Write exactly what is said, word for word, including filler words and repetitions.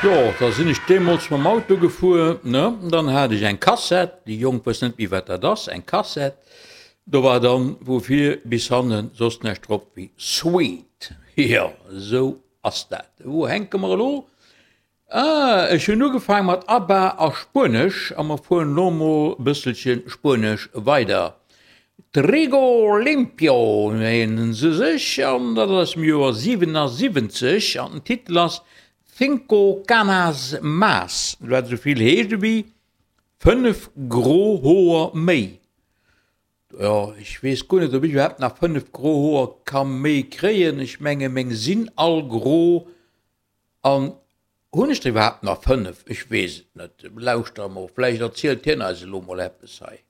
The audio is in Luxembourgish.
Jo, da sinn ech deemools mam Auto gefuer, ne, dann hat ech eng Kassett, déi Jonk wëssen net méi wat dat ass, eng Kassett, do war dann vu vir bis hannen soss näischt drop wéi Sweet. Jo, esou ass dat. Wou hänke mer elo? Ah, ech hunn ugefaang mat ABBA a Spuenesch a mer fueren elo mol e bësselche Spuenesch weider. Trigo Limpio nennen se sech an dat ass aus dem Joer siwenasiwwenzeg an den Titel ass Cinco canas más, wat esou vill heescht ewéi fënnef gro Hoer méi. Jo, ech weess guer net, ob ech iwwerhaapt nach fënnef gro Hoer ka méi kréien. Ech menge meng sinn all gro. An hunn ech der iwwerhaapt nach fënnef? Ech weess et net. Lauschter emol, vläicht erzielt hien eis elo mol eppes hei.